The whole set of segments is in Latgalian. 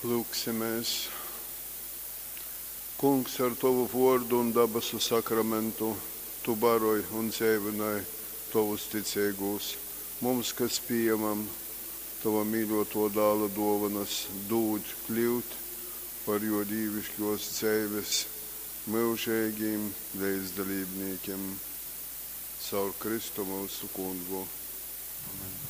Lyugsimēs. Kungs, ar tovu vōrdu un dabasu sakramentu tu baroj un dzeivynoj tovus ticeigūs. Mums, kas pījamam tova mīļōtō Dāla dōvonas, dūd kļyut par jō dīviškōs dzeives myužeigim leidzdalībnīkim. Caur Kristu myusu Kungu. Amen.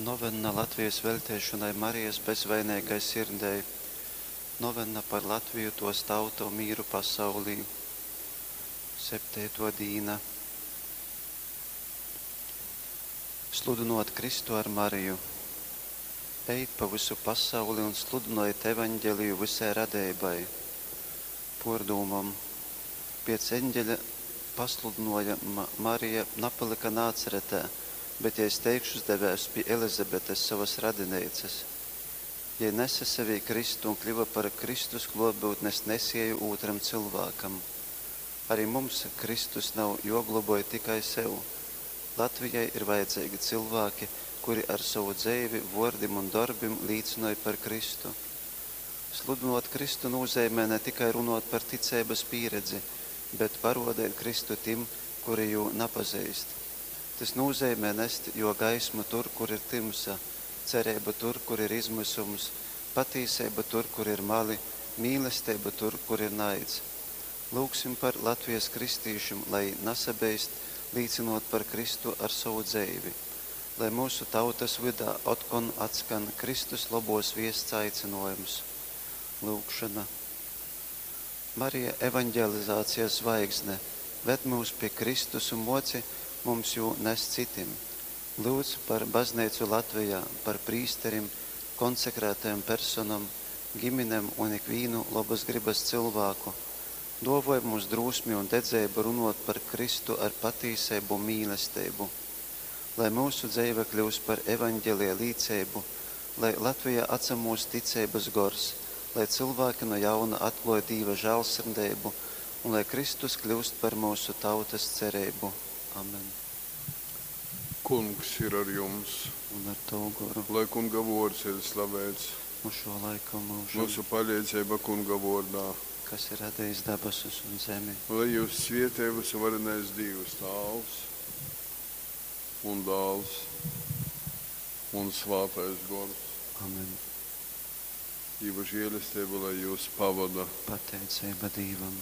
Novenna Latvijas veļteišonai Marijas bezvaineigai sirdei. Novenna par Latviju, tōs tautu un mīru pasaulī. Septeitō dīna. Sludynōt Kristu ar Mariju. Ejit pa vysu pasauli un sludynojit evaņgeliju vysai radeibai. Pōrdūmom. Piec eņgeļa pasludynōjuma Marija napalyka Nācaretē, bet jei steigšus devēs pi Elizabetes, sovas radineicas. Jei nese sevī Kristu un kļyva par Kristus klōtbyutnes nesieju ūtram cylvākam. Ari mums Kristus nav juogloboj tikai sev. Latvijai ir vajadzeigi cylvāki, kuri ar sovu dzeivi, vuordim un dorbim līcynoj par Kristu. Sludynuot Kristu nūzeimej ne tikai runuot par ticeibys pīredzi, bet paruodeit Kristu tim, kuri Jū napazeist. Tys nūzeimej nest Juo gaismu tur, kur ir tymsa, cereibu tur, kur ir izmysums, patīseibu tur, kur ir mali, mīlesteibu tur, kur ir naids. Lyugsim par Latvijas kristīšim, lai jī nasabeist līcynuot par Kristu ar sovu dzeivi. Lai myusu tautys vydā otkon atskan Kristus lobuos viests aicynuojums. Lyugšona. Marija, evaņgelizācijas zvaigzne, ved myus pi Kristus un muoci mums jū nest cytim. Lyudz par Bazneicu Latvijā, par prīsterim, konsekrētajom personom, giminem un ikvīnu lobys grybys cylvāku. Duovoj mums drūsmi un dedzeibu runuot par Kristu ar patīseibu un mīlesteibu. Lai myusu dzeive kļyust par evaņgelija līceibu, lai Latvijā atsamūst ticeibys gors, lai cylvāki nu jauna atkluoj Dīva žāļsirdeibu un lai Kristus kļyust par myusu tautys cereibu. Amen. Kungs ir ar jums. Un ar tovu goru. Lai Kunga vōrds ir slaveits. Nu šō laika un myužam. Myusu paleidzeiba Kunga vōrdā. Kas ir radejis dabasus un zemi. Lai jyus svietej vysuvarenais Dīvs Tāvs un Dāls un Svātais Gors. Amen. Dīva žēlesteiba lai jyus pavoda. Pateiceiba Dīvam.